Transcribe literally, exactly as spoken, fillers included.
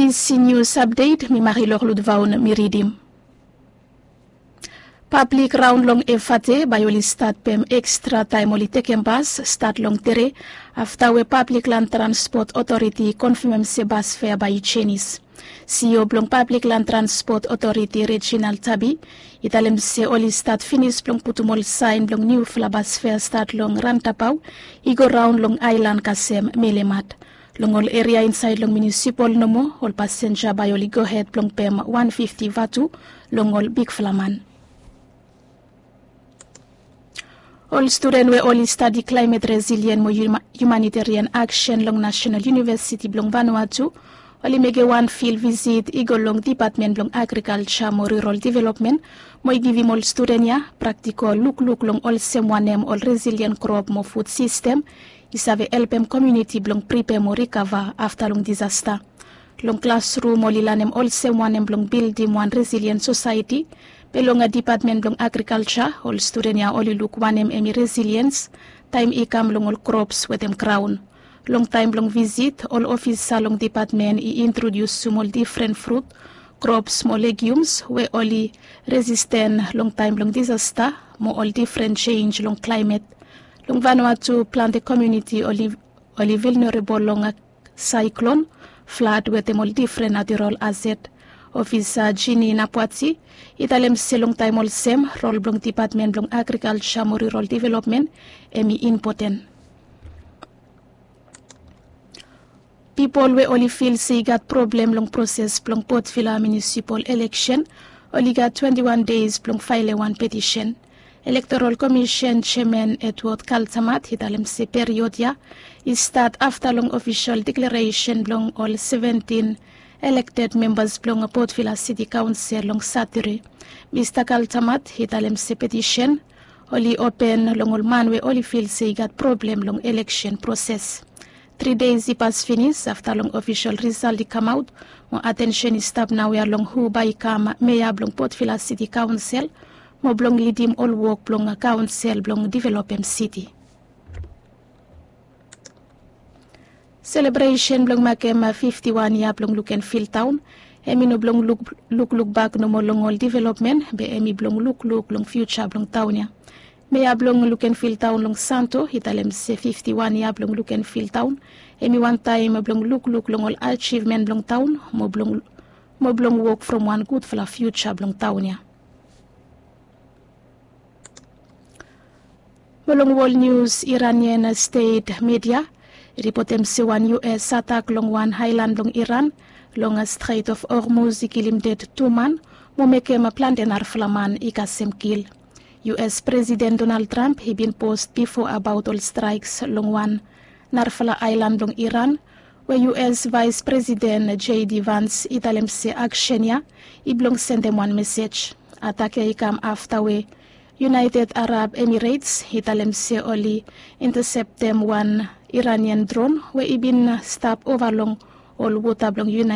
Isi nius apdet mi marilok ludvaon mi ridim. Pablik raon long efate bae oli stat pem ekstra taem oli tekem bas stat long tere, afta we pablik lan transpot otoriti i konfemem se bas fea bae i jenis. Sio blong pablik lan transpot otoriti rejinal tabi i talem se oli stat finis blong putum ol saen blong niufala bas fea stat long rantapao i go raon long aelan kasem melemat. Long ol eria insaed long minisipol nomo ol pasenja bae oli gohed blong pem wan fifti vatu long ol bigfala man. Ol studen we oli stadi klaemet resilien mo hiumanitarian aksen long nasenal univesiti blong vanua tu oli mekem wan fil visit i go long dipatmen blong agrikalja mo rural developmen mo i givim ol studen ya praktikol lukluk long olsem wanem ol resilien krop mo fud sistem i save helpem komiuniti blong pripea mo rikava afta long disasta. Long klasrum oli lanem olsem wanem blong bildim wan resilien sosaeti. Be long dipatmen blong agrikalja ol studen ya oli luk wanem hem i resiliens taem i kam long ol krops wetem graon. Long taem blong visit ol ofisa long dipatmen i introdiusum ol difren frut, krops mo legiums we oli resisten long taem blong disasta mo ol difren jenj long klaemet. Long vanua tu plante komiuniti oli vilnerabol long saeklon, flad wetem ol difren naterol aset. Ofisa jini napwati i talem se long taem olsem rol blong dipatmen blong agrikalja mo rural developmen hem i impoten. Pipol we oli fil se i gat problem long proses blong potvila minisipol eleksen oli gat twenti wan deis blong faelem wan petisen. Elektorol komisen jeaman edwod kaltamat i talem se period ya i stat afta long ofisol deklaresen blong ol seventin elekted membas blong potvila siti kaonsel long satere. Mista kaltamat i talem se petisen oli open long ol man we oli fil se i gat problem long eleksen proses. Tri deis i pas finis afta long ofisol risalt i kamaot mo atensen i stap naoia long hu bae i kam mea blong potvila siti kaonsel mo blong lidim ol wok blong kaonsel blong developem siti. Selebresen blong makem fifti wan yia blong lukenfil taon hem i no blong lukluk bak nomo long ol developmen be hem i blong lukluk long fiuja blong taon ya. Mea blong lukenfil taon long santo i talem se fifti wan yia blong lukenfil taon hem i wantaem blong lukluk long ol ajivmen blong taon mo blong wok from wan gudfala fiuja blong taon ya. Mo long wol nius, iranian stet media i ripotem se wan us atak long wan aelan blong iran long stret of hormuz i kilim ded tu man mo mekem plante narafala man i kasem kil. Us presiden donald trump i bin post bifo abaot ol straeks long wan narafala aelan blong iran we us vaes presiden j d vans i talem se aksen ya i blong sendem wan mesej. Atak ya i kam afta we united arab emirates i talem se oli inteseptem wan iranian dron we i bin stap ova long ol wota blong united